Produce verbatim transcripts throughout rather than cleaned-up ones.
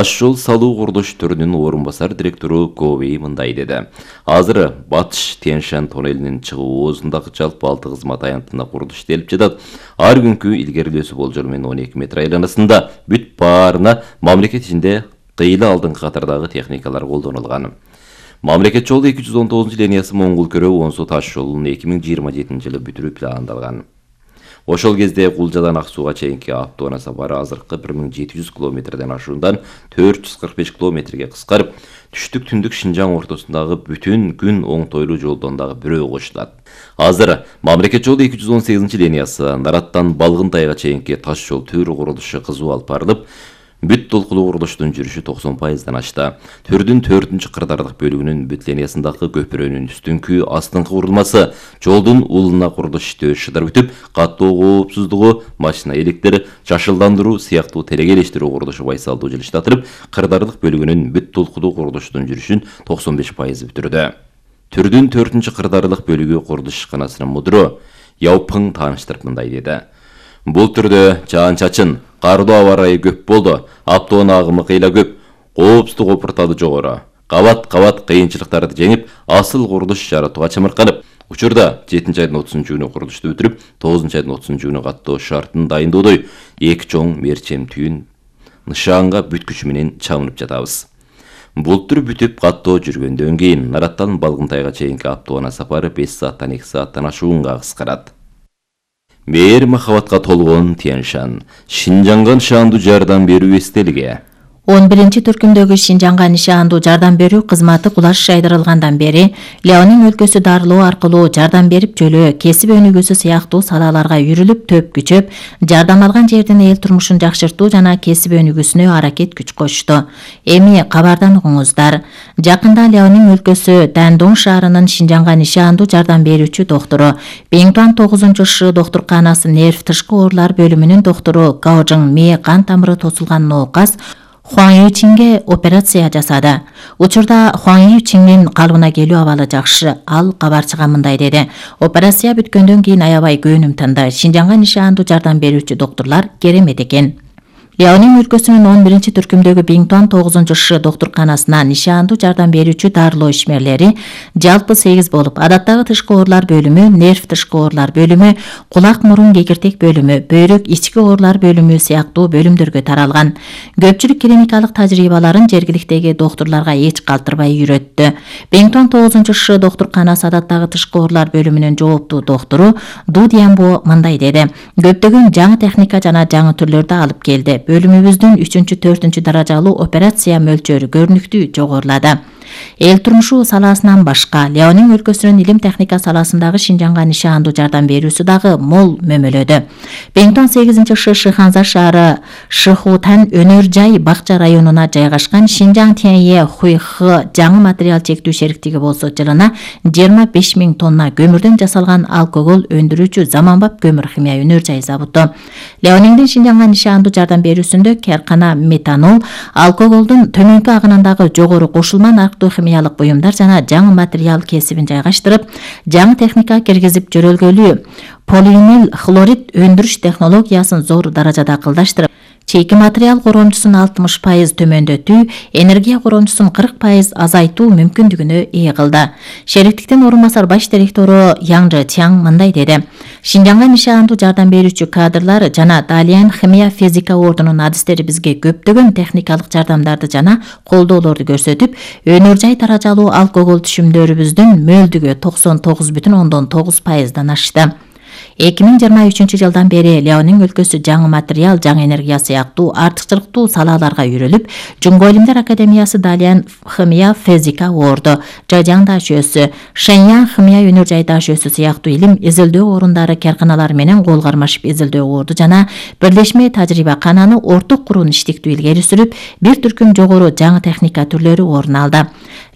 Таш жол салуу курулуш түрүнүн орун басар директору Говей мындай деди. Азыр Батыш Тянь-Шань тоннелинин чыгуу оозундагы жалпы алты кызмат аянтында курулуш иштелип жатат. Ар күнкү илгерилөөсү болжол менен он эки метр айланасында бүт баарына мамлекет ичинде кыйла алдыңкы катардагы техникалар колдонулган. Мамлекет жолу эки жүз он тогузунчу линиясы Моңгол Көрө Онсу таш жолун эки миң жыйырма жетинчи жылы бүтүрүү пландалган. Ошол кезде Кулжадан Ак Сууга чейинки автоунаа сапары азыркы бир миң жети жүз километрден ашуундан төрт жүз кырк беш километрге кыскарып, түштүк түндүк Шинжаң ортосундагы бүтүн күн оңтойлуу жолдон дагы бирөө кошулат. Азыр мамлекет жолу эки жүз он сегизинчи линиясы Нараттан Балгынтайга чейинки таш жол төрү курулушу кызуу алып барылып, бүт толкулуу курулуштун жүрүшү токсон пайыздан ашты. Түрдүн төртүнчү кырдаардык бөлүгүнүн бүт линиясындагы көпүрөнүн үстүңкү астыңкы курулмасы, жолдун улуна курулуш иштөө шыдар бүтүп, каттоо коопсуздугу, машина электри, жашылдандыруу сыяктуу телегелештирүү курулушу байсалдуу жылыштатылып, кырдаардык бөлүгүнүн бүт толкулуу курулуштун жүрүшүн токсон беш пайыз бүтүрдү. Түрдүн төртүнчү кырдаардык бөлүгү курулуш ишканасынын мудуру Яупың тааныштырып мындай деди. Бул түрдө жаан-чачын, кардуу аба ырайы көп болду, автоунаа агымы кыйла көп, коопсуздук опуртады жогору. Кабат-кабат кыйынчылыктарды жеңип, асыл курулуш жаратууга чымырканып, учурда жетинчи айдын отузунчу күнү курулушту бүтүрүп, тогузунчу айдын отузунчу күнү каттоо шартын дайындоодой эки чоң мерчем түйүн нышаанга бүт күчү менен чабынып жатабыз. Бул түр бүтүп каттоо жүргөндөн кийин Нараттан Балгынтайга чейинки автоунаа сапары беш сааттан эки сааттан ашуунга кыскарат. Мээр махабатка толгон Тянь-Шань, Шинжаңга нышаандуу жардам берүү эстелиги. он биринчи түркүмдөгү Шинжаңга нишаандуу жардам берүү кызматы кулаш жайдырылгандан бери Ляонин өлкөсү дарылоо аркылуу жардам берип жөлөө, кесип өнүгүүсү сыяктуу салаларга үйрүлүп, төп күчөп, жардам алган жердин эл турмушун жакшыртуу жана кесип өнүгүүсүнө аракет күч кошту. Эми кабардан угуңуздар. Жакында Ляонин өлкөсү Дандун шаарынын Шинжаңга нишаандуу жардам берүүчү доктору, Биңтуан тогузунчу Ш доктурканасы нерв тышкы оорулар бөлүмүнүн доктору Гаожың мээ кан тамыры тосулган ноокас Хуаң Ючинге операция жасады. Учурда Хуаң Ючиңдин калыбына келүү абалы жакшы. Ал кабарчыга мындай деди. Операция бүткөндөн кийин аябай көөнүм тынды. Шинжаңга нишаандуу жардам берүүчү доктурлар керемет экен. Ляонин өлкөсүнүн он биринчи түркүмдөгү Биңтуан тогузунчу Ш доктурканасына нишаандуу жардам берүүчү дарылоо ишмерлери жалпы сегиз болуп, адаттагы тышкы оорулар бөлүмү, нерв тышкы оорулар бөлүмү, кулак мурун кекиртек бөлүмү, бөйрөк ички оорулар бөлүмү сыяктуу бөлүмдөргө таралган. Көпчүлүк клиникалык тажрыйбаларын жергиликтеги доктурларга эч калтырбай үйрөттү. Биңтуан тогузунчу Ш доктурканасы адаттагы тышкы оорулар бөлүмүнүн жооптуу доктору Ду Дьянбо мындай деди. Көптөгөн жаңы техника жана жаңы түрлөрдү алып келди. Бөлүмүбүздүн үчүнчү төртүнчү даражалуу операция мөлчөрү көрүнүктүү жогорулады. Эл турмушу саласынан башка Ляонин өлкөсүнүн илим техника саласындагы Шинжаңга нишаандуу жардам берүүсү дагы мол мөмөлөдө. Биңтуан сегизинчи Ш Шыханза шаары Шыхутан өнөр жай бакча районуна жайгашкан Шинжаң Тянье Хуйхы жаңы материал чектүү шериктиги болсо жылына жыйырма беш миң тонна көмүрдөн жасалган алкогол өндүрүүчү заманбап көмүр химия өнөр жай заводу. Ляониндин Шинжаңга нишаандуу жардам берүүсүндө каркана метанол, алкоголдун төмөнкү агынындагы жогору кошулма нарктуу химиялык буюмдар жана жаңы материал кесибин жайгаштырып, жаңы техника киргизип жөрөлгөлүү полиинил хлорид өндүрүш технологиясын зор даражада кылдаштырып, чейки материал коромчусун алтымыш пайыз төмөндөтүү, энергия коромчусун кырк пайыз азайтуу мүмкүндүгүнө ээ кылды. Шериктиктин орун басар баш директору Яң Тяң мындай деди. Шинжаңга нишаандуу жардам берүүчү кадрлар жана Далиан химия физика ордунун адистери бизге көптөгөн техникалык жардамдарды жана колдоолорду көрсөтүп, өнөр жай даражалуу алкогол түшүмдөрүбүздүн мөлдүгү токсон тогуз бүтүн ондон тогуз пайыздан ашты. эки миң жыйырма үчүнчү жылдан бери Ляонин өлкөсү жаңы материал, жаңы энергия сыяктуу артыкчылыктуу салаларга үйрөлүп, Жуңго илимдер академиясы Далиан химия физика орду, Жажаң дашөөсү, Шэньян химия өнөр жай дашөөсү сыяктуу илим изилдөө орундары карканалар менен кол кармашып изилдөө орду жана бирлешме тажрыйба кананы орток куруун иштиктүү илгери сүрүп, бир түркүм жогору жаңы техника түрлөрү орун алды.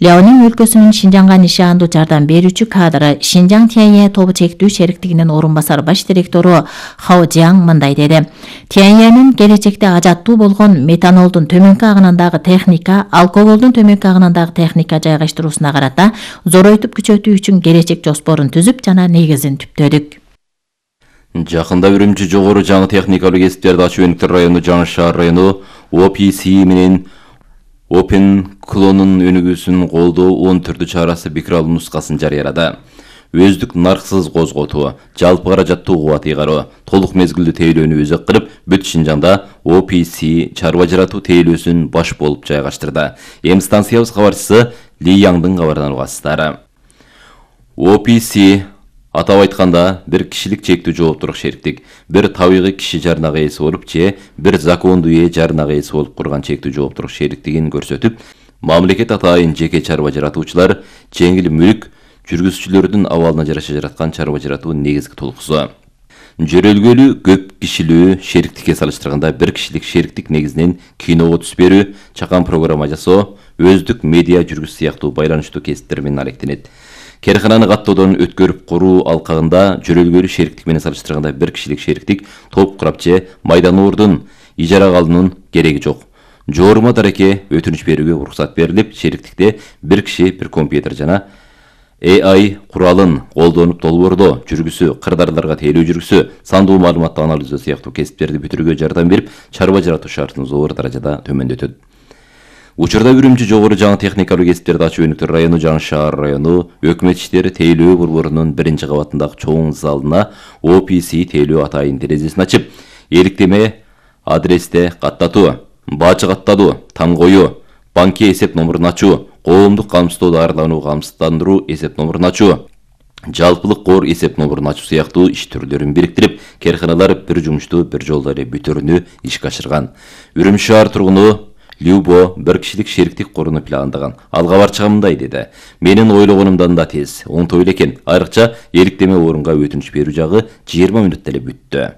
Ляонин өлкөсүнүн Шинжаңга нишаандуу жардам берүүчү кадры Шинжаң Тянье тобу чектүү шериктигинин орун басар баш директору Хао Жиаң мындай деди. Тяньенин келечекте ажаттуу болгон метанолдун төмөнкү агынындагы техника, алкоголдун төмөнкү агынындагы техника жайгаштыруусуна карата зоройтуп күчөтүү үчүн келечек жоспорун түзүп жана негизин түптөдүк. Жакында Үрүмчү жогору жаңы техникалык кесиптерди ачуу өнүктөр району Жаңы шаар району О П С менен Open клонун өнүгүүсүн колдоо он төртү чарасы бекиралуу нускасын жарыялады. Өздүк нарксыз козготуу, жалпы каражаттуу кубат ыйгаруу, толук мезгилдүү тейлөөнү өзөк кылып, бүт Шинжаңда о пи си чарба жаратуу тейлөөсүн баш болуп жайгаштырды. Эми станциябыз кабарчысы Ли Яңдын кабарынан угасыздар. о пи си атап айтканда бир кишилик чектүү жооптуулук шериктик, бир табигый киши жарнага ээси болуп же бир закондуу ээ жарнага ээси болуп курган чектүү жооптуулук шериктигин көрсөтүп, мамлекет атайын жеке чарба жаратуучулар жеңил мүлк жүргүзүүчүлөрдүн абалына жараша жараткан чарба жаратуу негизги толкусу. Жөрөлгөлүү көп кишилүү шериктикке салыштырганда бир кишилик шериктик негизинен киного түс берүү, чакан программа жасоо, өздүк медиа жүргүз сыяктуу байланыштуу кесиптер менен алектенет. Керкананы каттоодон өткөрүп куруу алкагында жөрөлгөлүү шериктик менен салыштырганда бир кишилик шериктик топ курап же майдановордун ижарага алуунун кереги жок. Жорума дареке өтүнүч берүүгө уруксат берилип, шериктикте бир киши бир компьютер жана эй ай куралын колдонуп долбоордоо жүргүсү, кырдаарларга тейлөө жүргүсү, сандуу маалыматты анализдөө сыяктуу кесиптерди бүтүрүүгө жардам берип, чарба жаратуу шартын зор даражада төмөндөтөт. Учурда Үрүмчү жогору жаңы техникалуу кесиптерди ачуу өнүктүр району, Жаңы шаар району өкмөт иштери тейлөө борборунун биринчи кабатындагы чоң залына о пи си тейлөө атайын терезесин ачып, эликтеме адресте каттатуу, бажы каттатуу, таң коюу, банки эсеп номурун ачуу, коомдук камсыздоо дарылануу камсыздандыруу эсеп номурун ачуу, жалпылык кор эсеп номурун ачуу сыяктуу иш түрлөрүн бириктирип, керканалар бир жумушту бир жолдо эле бүтүрүүнү ишке ашырган. Үрүмчү шаар тургуну Любо бир кишилик шериктик куруну пландаган. Ал кабарчыга мындай деди: "Менин ойлогонумдан да тез, оңтой эле экен. Айрыкча эликтеме орунга өтүнүч берүү жагы жыйырма мүнөттө эле бүттү."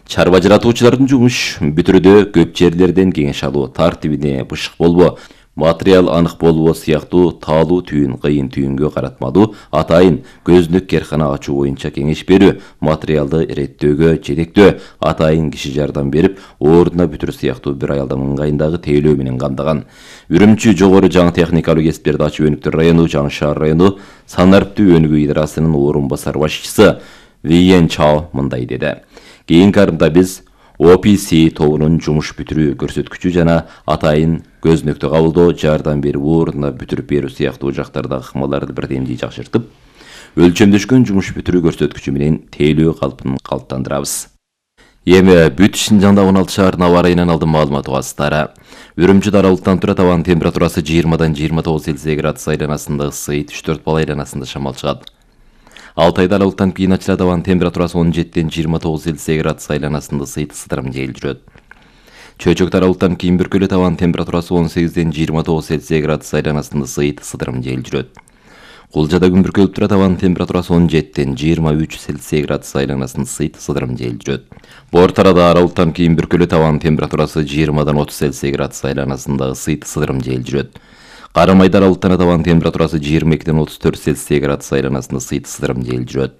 Чарба жаратуучулардын жумуш бүтүрүүдө көп жерлерден кеңеш алуу, тартибине бышык болбоо, материал анык болбоо сыяктуу таалуу түйүн, кыйын түйүнгө каратмадуу, атайын көзүнүк керкана ачуу боюнча кеңеш берүү, материалды иреттөөгө жетектөө, атайын киши жардам берип, ордуна бүтүрүү сыяктуу бир аялдын ыңгайындагы тейлөө менен камдаган. Үрүмчү жогору жаңы техникалуу кесиптерди ачуу өнүктүр району, Жаңы шаар району санариптүү өнүгүү идарасынын орун басар башчысы Виен Чао мындай деди: "Кийинки арымда биз о пи си тобунун жумуш бүтүрүү көрсөткүчү жана атайын көзүнөктү кабылдоо, жардам берип, ордуна бүтүрүп берүү сыяктуу жактардагы ыкмаларды бирдемдей жакшыртып, өлчөмдөшкөн жумуш бүтүрүү көрсөткүчү менен тейлөө калпын калыптандырабыз." Эми бүт Шинжаңда он алты шаардын аба ырайынан алдын маалымат угасыздар. Үрүмчү даралыктан турат, абанын температурасы жыйырмадан жыйырма тогуз Цельсий градус айланасында ысыйт, үч төрт балл айланасында шамал чыгат. Алтайда аралыктан кийин ачылат, абанын температурасы он жетиден жыйырма тогуз Цельсий градус айланасында ысыйт, ысытырым жел жүрөт. Чөйчөк аралыктан кийин бүркөлөт, абанын температурасы он сегизден жыйырма тогуз Цельсий градус айланасында ысыйт, ысытырым жел жүрөт. Кулжада күн бүркөлүп турат, абанын температурасы он жетиден жыйырма үч Цельсий градус айланасында ысыйт, ысытырым жел жүрөт. Бор тарада аралыктан кийин бүркөлөт, абанын температурасы жыйырмадан отуз Цельсий градус айланасында ысыйт, ысытырым жел жүрөт. Карамайда аралыктан абанын температурасы жыйырма экиден отуз төрт Цельсий градус айланасында ысыйт, ысытырым жел жүрөт.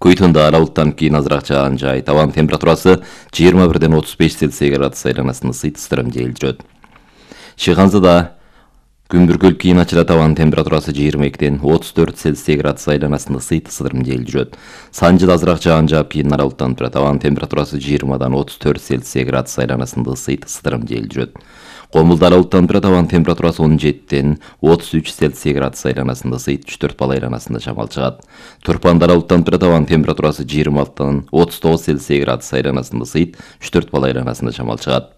Куйтунда аралыктан кийин азыраак жаан жай, абанын температурасы жыйырма бирден отуз беш Цельсий градус айланасында ысыйт, ысытырым жел жүрөт. Чыганзада күн бүркөлүп кийин ачылат, абанын температурасы жыйырма экиден отуз төрт Цельсий градус айланасында ысыйт, ысытырым жел жүрөт. Санжыда азыраак жаан жаап кийин аралыктан турат, абанын температурасы жыйырмадан отуз төрт Цельсий градус айланасында ысыйт, ысытырым жел жүрөт. Комулда аралыктан турат, абанын температурасы он жетиден отуз үч Цельсий градус айланасында ысыйт, үч төрт балл айланасында шамал чыгат. Турпанда аралыктан турат, абанын температурасы жыйырма алтыдан отуз тогуз Цельсий градус айланасында ысыйт, үч төрт балл айланасында шамал чыгат.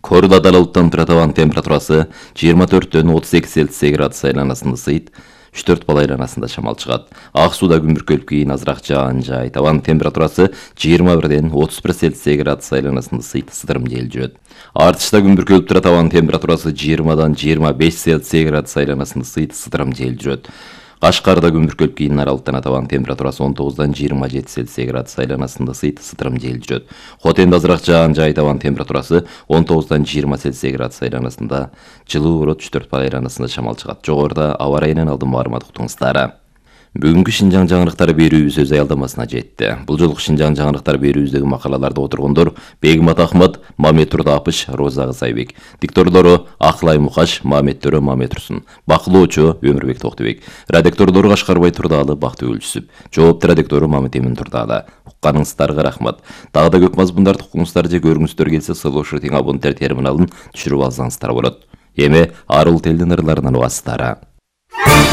Кордада аралыктан турат, абанын температурасы жыйырма төрттөн отуз эки Цельсий градус айланасында ысыйт, үч төрт балл айланасында шамал чыгат. Ак сууда күн бүркөлүп кийин азыраак жаан жайт, абанын температурасы жыйырма бирден отуз бир Цельсий градус айланасында ысыйт, ысытырым жел жүрөт. Артышта күн бүркөлүп турат, абанын температурасы жыйырмадан жыйырма беш Цельсий градус айланасында ысыйт, ысытырым жел жүрөт. Кашкарда күн бүркөлүп кийин аралыктан абанын температурасы он тогуздан жыйырма жети Цельсий градус айланасында ысыйт, ысытырым жел жүрөт. Хотенде азыраак жаан жайт, абанын температурасы он тогуздан жыйырма Цельсий градус айланасында жылуу болот, үч төрт балл айланасында шамал чыгат. Жогоруда аба ырайынан алдын маалымат уктуңуздар. Бүгүнкү Шинжаң жаңырыктары берүүбүз өз аялдамасына жетти. Бул жолку Шинжаң жаңырыктары берүүбүздөгү макалаларда отургондор Бегмат Ахмат, Мамет Турдапыш, Роза Кызайбек. Дикторлору Аклай Мукаш, Мамет Төрө, Мамет Турсун. Бакылоочу Өмүрбек Токтубек. Редакторлору Кашкарбай Турдаалы, Бактыгүл Жүсүп. Жоопту редактору Мамет Эмин Турдаалы. Укканыңыздарга рахмат. Дагы да көп мазмундарды укуңуздар же көрүңүздөр келсе, Слушай тең абоненттер терминалын түшүрүп алсаңыздар болот. Эми арыл телдин ырларынан убастары.